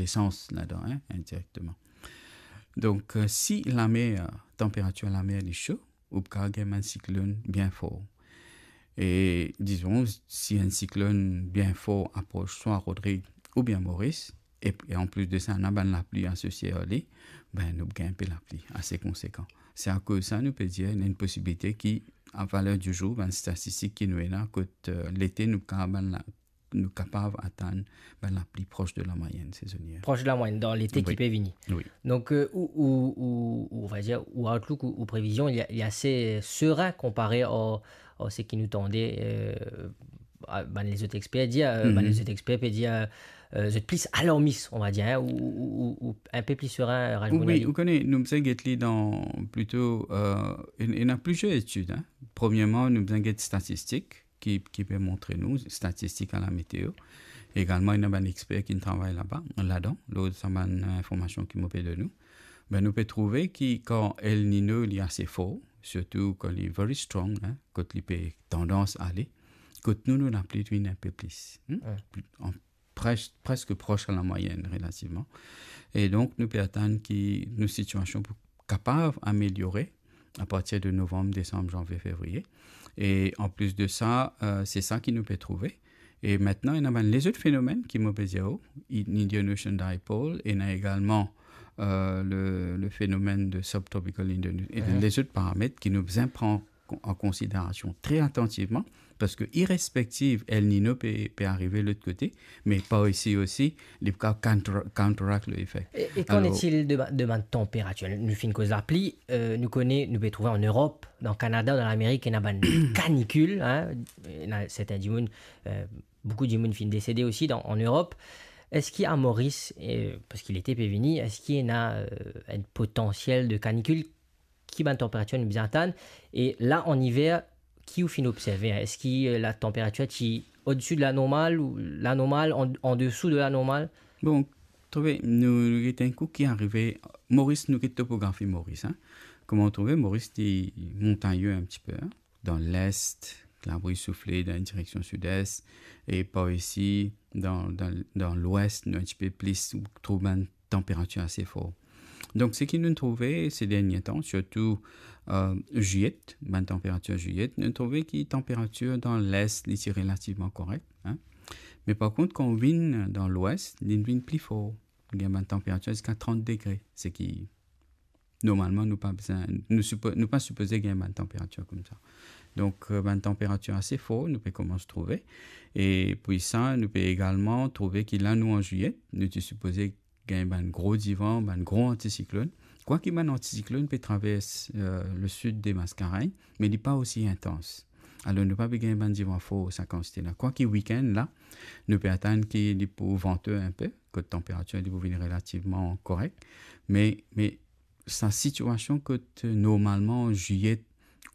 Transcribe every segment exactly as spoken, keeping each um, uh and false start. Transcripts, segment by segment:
lesans ladan, hein, indirekteman. Donk, euh, si lamer, tanperatir lamer li so, ou pou kapav gagn bann siklonn bien for. E dizon, si enn siklonn bien for apros swa Rodrig oubien Moris, e, e anplis de sa, ena bann lapli asosie ar li, ben, nou pou gagn enpe lapli ase konsekan. Se akoz sa, nou pe dir, ena enn posibilite ki, a valer di zour, bann statistik ki nou ena, kot, euh, lete, nou kapav bann la-, nou kapav atann bann lapli pros de la mwayenn sezonier. Pros de la mwayenn dan lete ki pe vini. Wi. Donk, euh, ou, ou, ou, ou, on va dir, ou outlook, ou, ou previzion, li, li ase serin konpare ar, ar seki nou tande, euh, a, bann lezot exper dir, euh, bann lezot exper pe dir, euh, zot pli alarmis, on va dir, hein, ou, ou, ou, ou enpe pli serin, Raj Bounali. Wi, ou kone, nou bizin get li dan plito, euh, ena, ena plizier etid, hein. Premierman, nou bizin get statistik ki, ki pe montre nou, statistik a la meteo. Egalman, ena bann exper ki travay laba, ladan, lor sa bann, euh, informasion ki mo pe donn ou. Ben, nou pe trouve ki kan El Niño li ase for, sirtou kan li very strong, hein, kot li pe tandans ale, kot nou, nou lapli vinn enpe plis, hmm? An pres-, preske pros a la mwayenn relativman. E donk, nou pe atann ki nou sitiasion pou kapav ameliore apartir de novanm, desanm, zanvie, fevriye. E anplis de sa, euh, se sa ki nou pe trouve. E mintnan, ena bann lezot fenomenn ki mo pe dir ou, i-, Indian Ocean Dipole, ena egalman, euh, le, le fenomenn de subtropical Indian, e lezot paramet ki nou bizin pran kon-, an konsiderasion tre atantivman, parski irespektiv El Niño pe, pe arive lot kote, me par isi osi, li pou kav counter-, counteract lefek. E, e qu'en est-il de ba-, de bann tanperatir? Nou finn koz lapli, euh, nou kone, nou pe trouve an Erop, dan Kanada, dan Lamerik, ena bann kanikil, hein, ena sertin dimoun, euh, boukou dimoun finn desede osi dan, an Erop. Eski a Moris, euh, parski lete pe vini, eski ena, euh, enn potansiel de kanikil? Ki bann tanperatir nou bizin atann? E la, an iver, ki ou finn observe, hein? Eski, euh, la tanperatir ti odsi de la normal ou la normal, an, andesou de la normal? Bon, trouve, nou, nou get enn kou ki arive, Moris, nou get topografi Moris, hein. Kouma ou trouve, Moris li montagne un petit peu, hein. Dan lest, labri soufle dan enn direksion sid-es, e par isi, dan, dan, dan lwes, nou enn tipe plis, ou trouv bann tanperatir ase for. Donk, seki nou trouve se dernie tan, sirtou, euh, zilyet, bann tanperatir zilyet, nou trouve ki tanperatir dan lest, li ti relativman korek, hein. Me par kont, kan ou vinn dan lwes, li vinn pli for. Gagn bann tanperatir ziska trant degre, seki normalman nou pa bizin, nou sipo-, nou pa sipoze gagn bann tanperatir koumsa. Donk, euh, bann tanperatir ase for, nou pe koumans trouve. E pou sa, nou pe egalman trouve ki la nou an zilyet, nou ti sipoze gagn bann gro divan, bann gro antisiklonn. Kwaki bann antisiklonn pe travers, euh, le sud de Maskarenn, me li pa osi intans. Alor, nou pa pe gagn bann divan for sa kantite la. Kwaki wikenn la, nou pe atann ki li pou vante enpe, kot tanperatir li pou vinn relativman korek. Me, me sa sitiasion kot, euh, normalman, zilyet,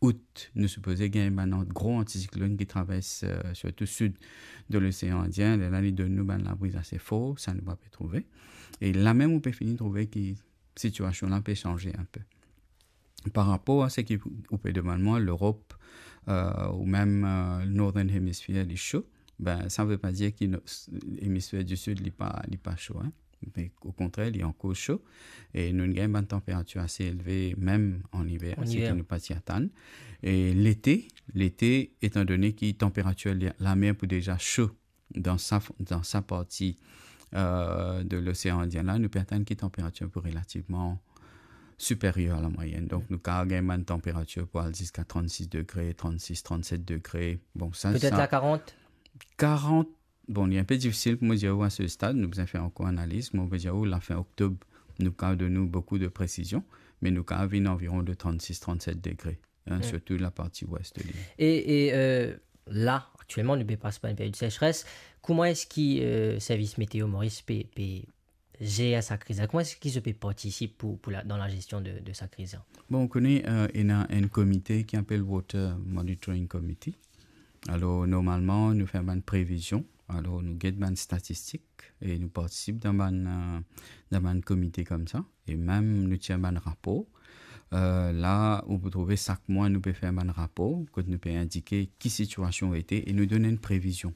out, nou sipoze gagn bann an-, gro antisiklonn ki travers, euh, sirtou sid de Losean Indien, lerla li donn nou bann labriz ase for, sa nou pa pe trouve. E la mem, ou pe fini trouve ki sitiasion la pe sanze enpe. Par rapor a seki ou pe demann mwa, Lerop, euh, ou mem, euh, Northern Hemisphere, li so, ben, sa ve pa dir ki no-, emisfer di sid, li pa, li pa so, hein. Me okontrer, li ankor so. E nou gagn bann tanperatir ase elve, mem an iver, seki nou pa ti atann. E lete, lete, etandone ki tanperatir li, lamer pou deza so dan sa, dan sa parti, euh, de Losean Indien la, nou pe atann ki tanperatir pou relativman siperyer a la mwayenn. Donk, nou kav gagn bann tanperatir pou al ziska trant-sis degre, trant-sis, trant-set degre. Bon, sa, petet la karant? Karant, bon, li enpe difisil pou mo dir ou a se stad, nou bizin fer ankor analiz, mo pe dir ou, lafin oktob, nou kav donn ou boukou de presizion, me nou kav vinn anviron de trant-sis, trant-set degre, hein, sirtou la parti wes de lil. E, e, euh, la, aktielman, nou pe pas par enn period sesres. Kouma eski, euh, servis meteo Moris pe, pe zer sa kriz la? Kouma eski zot pe partisip pou, pou la, dan la gestion de, de sa kriz la? Bon, ou kone, euh, ena enn komite ki apel Water Monitoring Committee. Alor, normalman, nou fer bann previzion. Alor, nou get bann statistik e nou partisip dan bann, euh, dan bann komite koumsa. E mem nou tir bann rapor. Euh, la, ou pou trouve sak mwa, nou pe fer bann rapor, kot nou pe indike ki sitiasion ete e nou donn enn previzion,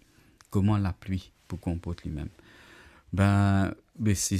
kouma lapli pou konport limem. Ben, be, se